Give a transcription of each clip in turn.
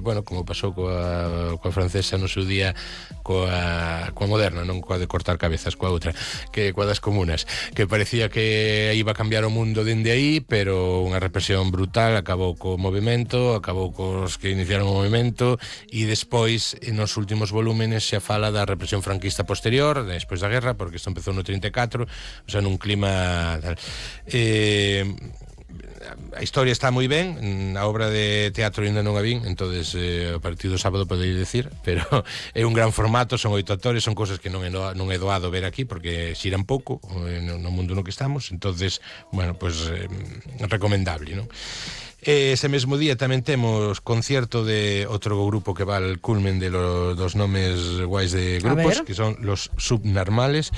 bueno, como pasou coa francesa no seu día, coa moderna, non coa de cortar cabezas, coa outra, que coa das comunas, que parecía que iba a cambiar o mundo dende aí, pero unha represión brutal acabou co movimento, acabou cos que iniciaron o movimento, e despois, nos últimos volúmenes, xa fala da represión franquista posterior, despois da guerra, porque isto empezou no 34, o sea, nun clima tal. A historia está moi ben, a obra de teatro ainda non a vin, entonces a partir do sábado poderia decir, pero é un gran formato, son 8 actores, son cosas que non é doado ver aquí porque xiran pouco no mundo no que estamos, entonces, bueno, pues recomendable, non? Ese mesmo día tamén temos concierto de outro grupo que va al culmen de dos nomes guais de grupos, que son los Subnarvales,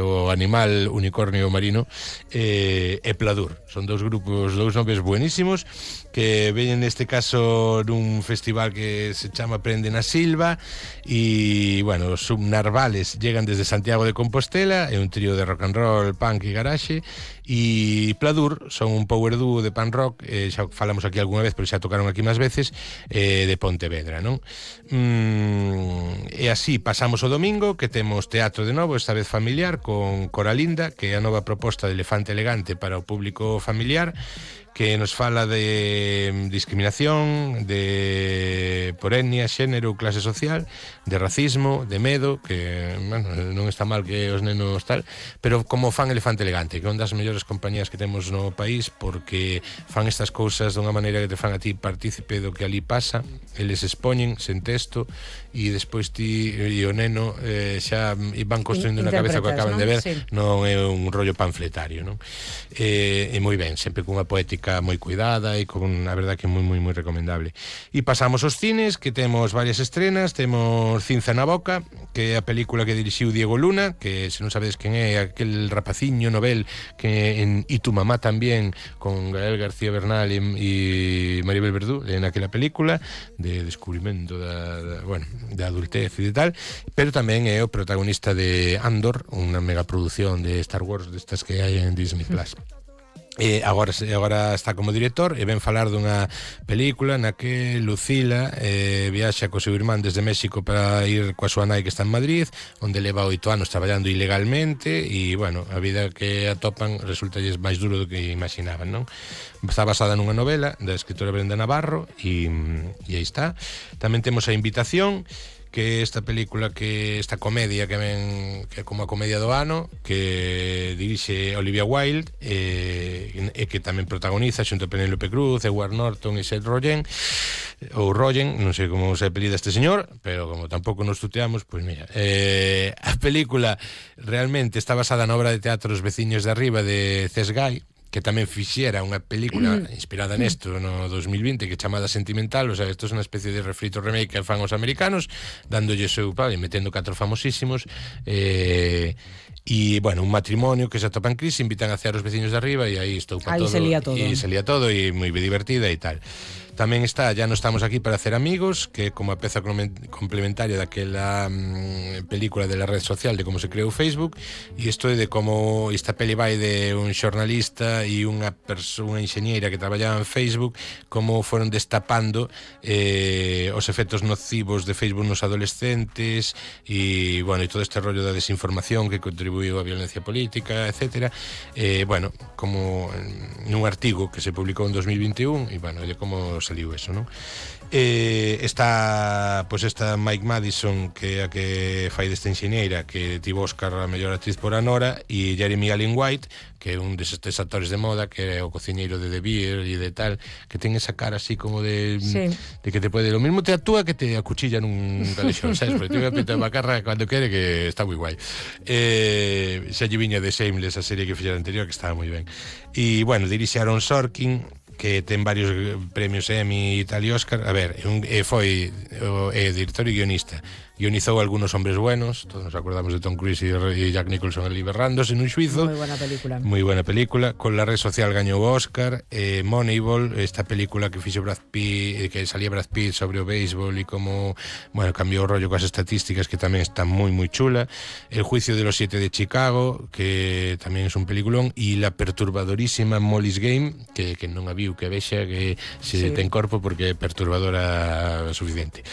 o Animal Unicornio Marino, e Pladur. Son dous grupos, dous nomes buenísimos, que veñen neste caso nun festival que se chama Prende na Silva, e, bueno, os Subnarvales llegan desde Santiago de Compostela, é un trío de rock and roll, punk e garaxe, e Pladur son un power duo de punk rock, xa falamos aquí algunha vez, pero xa tocaron aquí máis veces, de Pontevedra, non? E así pasamos o domingo, que temos teatro de novo, esta vez familiar, con Coralinda, que é a nova proposta de Elefante Elegante para o público familiar, que nos fala de discriminación, de por etnia, xénero, clase social, de racismo, de medo, que, bueno, non está mal que os nenos tal, pero como fan Elefante Elegante, que é unha das mellores compañías que temos no país, porque fan estas cousas dunha maneira que te fan a ti partícipe do que ali pasa, eles expoñen sen texto, e despois ti e o neno xa van construindo na cabeza o que acaban de ver, sí. Non é un rollo panfletario, non? E moi ben, sempre cunha poética moi cuidada e con, a verdad, que moi recomendable. E pasamos aos cines, que temos varias estrenas. Temos Cinza na boca, que é a película que dirixiu Diego Luna, que se non sabedes quen é, aquel rapaciño novel que en Y tu mamá tamén, con Gael García Bernal e Maribel Verdú, en aquela película de descubrimento da adultez e de tal, pero tamén é o protagonista de Andor, unha megaproducción de Star Wars destas que hai en Disney Plus. Agora está como director e ven falar dunha película na que Lucila viaxa co seu irmán desde México para ir coa súa nai que está en Madrid, onde leva 8 anos traballando ilegalmente, e, bueno, a vida que atopan resulta máis duro do que imaginaban, non? Está basada nunha novela da escritora Brenda Navarro, e aí está. Tamén temos A Invitación, que esta película, que esta comedia que ven, que é como a comedia do ano, que dirixe Olivia Wilde, e que tamén protagoniza xunto a Penélope Cruz, Edward Norton e Seth Rogen, ou Rogen, non sei como se apelida este señor, pero como tampouco nos tuteamos, pois mira, a película realmente está basada na obra de teatro Os veciños de arriba de Cés Gai, que tamén fixera unha película inspirada nesto no 2020, que é chamada Sentimental. O sea, isto é unha especie de refrito remake que fan os americanos, dándolle seu pal e metendo 4 famosísimos, e, bueno, un matrimonio que se atopa en crise, invitan a cear os veciños de arriba, e aí estou para todo, se lía todo, e moi divertida e tal. Tamén está Ya no estamos aquí para hacer amigos, que é como a peza complementaria daquela película de la red social de como se creou Facebook, e isto é de como esta peli vai de un xornalista e unha enxeñeira que traballaba en Facebook, como foron destapando os efectos nocivos de Facebook nos adolescentes, e, bueno, e todo este rollo da desinformación que contribuiu á violencia política, etcétera. Bueno, como nun artigo que se publicou en 2021, e, bueno, de como saliu eso, non? Está esta Mike Madison, que é a que fai desta enxeñeira, que tivo Oscar a mellor actriz por Anora, e Jeremy Allen White, que é un destes actores de moda, que é o cociñeiro de The Beer e de tal, que ten esa cara así como de que te pode, lo mismo te actúa que te acuchilla nun calexón, sabes? Porque tiene unha pinta de macarra cando quere, que está moi guai. Xa lle viña de Shameless, a serie que fixera anterior, que estaba moi ben. E, bueno, dirixe Aaron Sorkin, que ten varios premios Emmy e tal e Oscar. A ver, foi director e guionista guionizou Algunos hombres buenos, todos nos acordamos de Tom Cruise e Jack Nicholson ali berrándose nun xuizo. Moi buena película. Con La red social gañou o Oscar. Moneyball, esta película que fixo Brad Pitt, que salía Brad Pitt sobre o béisbol e como, bueno, cambiou o rollo coas estadísticas, que tamén está moi moi chula. El juicio de los 7 de Chicago, que tamén é un peliculón, e la perturbadorísima Molly's Game, que non a viu, que vexa que se ten corpo porque é perturbadora suficiente.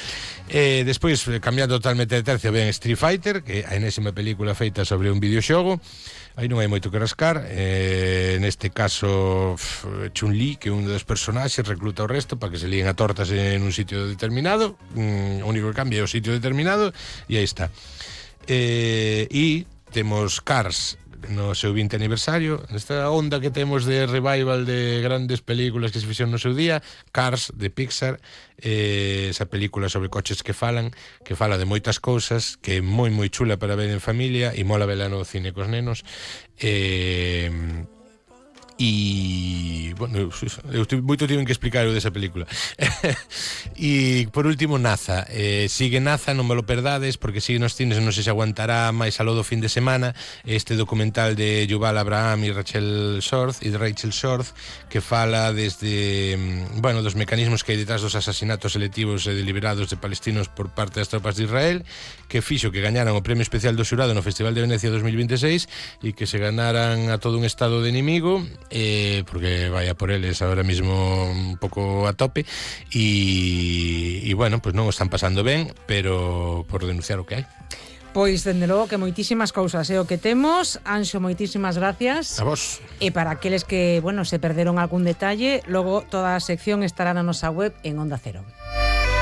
Despois, cambiando totalmente de tercio, ven Street Fighter, que é a enésima película feita sobre un videoxogo. Aí non hai moito que rascar. Neste caso, Chun-Li, que é un dos personaxes, recluta o resto para que se líen a tortas en un sitio determinado. O único que cambia é o sitio determinado, e aí está. E temos Cars no seu 20 aniversario, esta onda que temos de revival de grandes películas que se fixeron no seu día. Cars, de Pixar, esa película sobre coches que fala de moitas cousas, que é moi moi chula para ver en familia e mola vela no cine cos nenos. E, bueno, eu moito tiven que explicar o desa película. E por último, NASA. Sigue NASA, non me lo perdades, porque sigue nos cines, non sei se aguantará máis aló do fin de semana, este documental de Yuval Abraham e Rachel Shorth, que fala desde, bueno, dos mecanismos que hai detrás dos asasinatos selectivos e deliberados de palestinos por parte das tropas de Israel, que fixo que gañaran o premio especial do xurado no Festival de Venecia 2026 e que se ganaran a todo un estado de inimigo, porque vaya por eles ahora mismo un pouco a tope, e bueno, pues non o están pasando ben, pero por denunciar o que hai. Pois, dende logo, que moitísimas cousas é o que temos. Anxo, moitísimas gracias. A vos. E para aqueles que, bueno, se perderon algún detalle, logo toda a sección estará na nosa web en Onda Cero.